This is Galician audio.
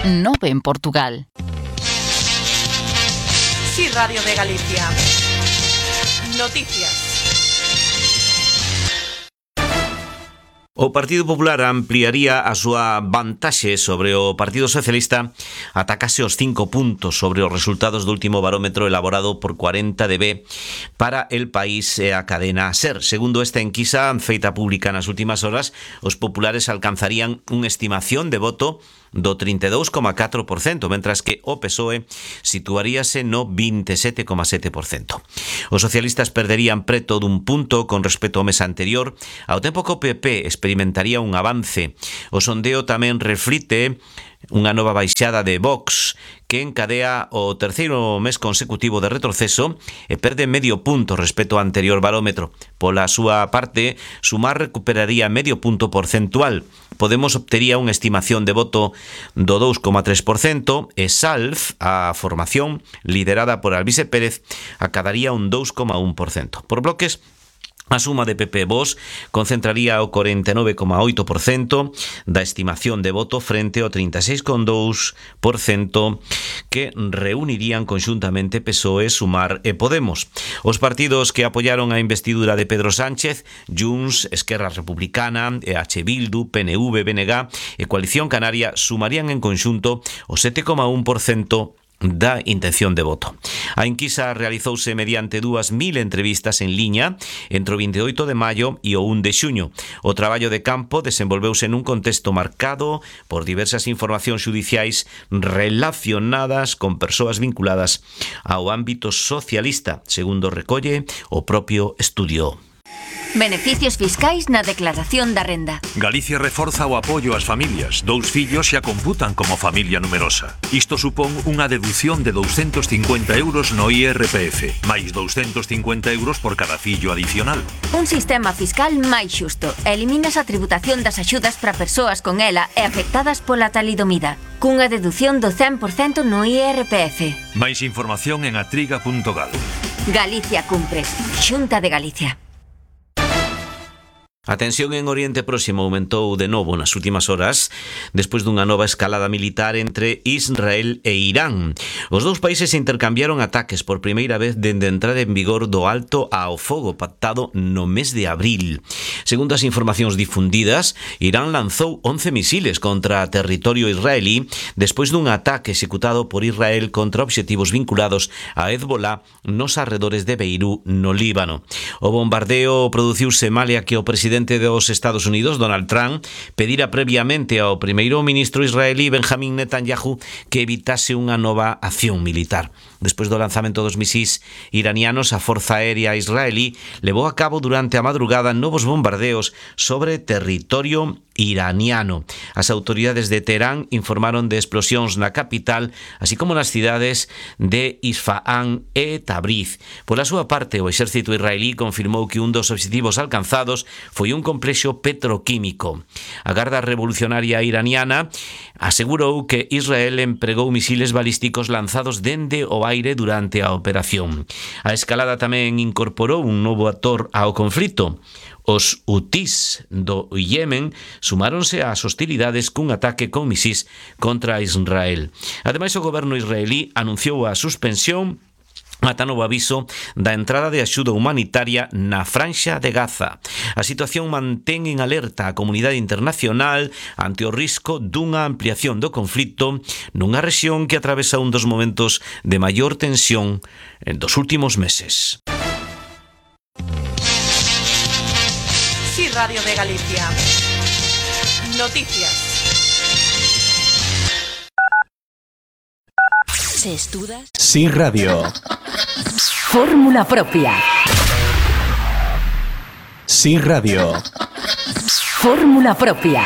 9 en Portugal. Sí, Radio de Galicia. Noticias. O Partido Popular ampliaría a súa vantaxe sobre o Partido Socialista ata case os 5 puntos sobre os resultados do último barómetro elaborado por 40DB para El País e a cadena SER. Segundo esta enquisa feita pública nas últimas horas, os populares alcanzarían unha estimación de voto do 32,4%, mentras que o PSOE situaríase no 27,7%. Os socialistas perderían preto dun punto con respecto ao mes anterior, ao tempo que o PP experimentaría un avance. O sondeo tamén reflite unha nova baixada de Vox, que encadea o terceiro mes consecutivo de retroceso e perde medio punto respecto ao anterior barómetro. Pola súa parte, Sumar recuperaría medio punto porcentual. Podemos obtería unha estimación de voto do 2,3% e Salv, a formación liderada por Alvise Pérez, acadaría un 2,1%. Por bloques, a suma de PP e Vox concentraría o 49,8% da estimación de voto frente ao 36,2% que reunirían conxuntamente PSOE, Sumar e Podemos. Os partidos que apoyaron a investidura de Pedro Sánchez, Junts, Esquerra Republicana, EH Bildu, PNV, BNG e Coalición Canaria sumarían en conxunto o 7,1% da intención de voto. A enquisa realizouse mediante 2.000 entrevistas en liña entre o 28 de maio e o 1 de xuño. O traballo de campo desenvolveuse nun contexto marcado por diversas informacións xudiciais relacionadas con persoas vinculadas ao ámbito socialista, segundo recolle o propio estudio. Beneficios fiscais na declaración da renda. Galicia reforza o apoio ás familias. 2 fillos xa computan como familia numerosa. Isto supón unha deducción de 250 euros no IRPF, máis 250 euros por cada fillo adicional. Un sistema fiscal máis xusto. Eliminas a tributación das axudas para persoas con ela e afectadas pola talidomida, cunha deducción do 100% no IRPF. Máis información en atriga.gal. Galicia cumpre. Xunta de Galicia. A tensión en Oriente Próximo aumentou de novo nas últimas horas despois dunha nova escalada militar entre Israel e Irán. Os dous países intercambiaron ataques por primeira vez dende a entrada en vigor do alto ao fogo pactado no mes de abril. Segundo as informacións difundidas, Irán lanzou 11 misiles contra territorio israelí despois dun ataque executado por Israel contra obxectivos vinculados a Hezbollah nos arredores de Beirut, no Líbano. O bombardeo produciuse malia que o presidente dos Estados Unidos, Donald Trump, pedira previamente ao primeiro ministro israelí Benjamin Netanyahu que evitase unha nova acción militar. Despois do lanzamento dos misís iranianos, a Forza Aérea israelí levou a cabo durante a madrugada novos bombardeos sobre territorio iraniano. As autoridades de Teherán informaron de explosións na capital, así como nas cidades de Isfahan e Tabriz. Pola súa parte, o exército israelí confirmou que un dos obxectivos alcanzados foi un complexo petroquímico. A Garda Revolucionaria iraniana asegurou que Israel empregou misiles balísticos lanzados dende o aire durante a operación. A escalada tamén incorporou un novo actor ao conflito. Os hutís do Yemen sumáronse ás hostilidades cun ataque con misís contra Israel. Ademais, o goberno israelí anunciou a suspensión ata novo aviso da entrada de axuda humanitaria na Franxa de Gaza. A situación mantén en alerta a comunidade internacional ante o risco dunha ampliación do conflito nunha rexión que atravesa un dos momentos de maior tensión dos últimos meses. Sí, Radio de Galicia. Noticias. Se estudas. Sí, Radio. Fórmula propia. Sí, Radio. Fórmula propia.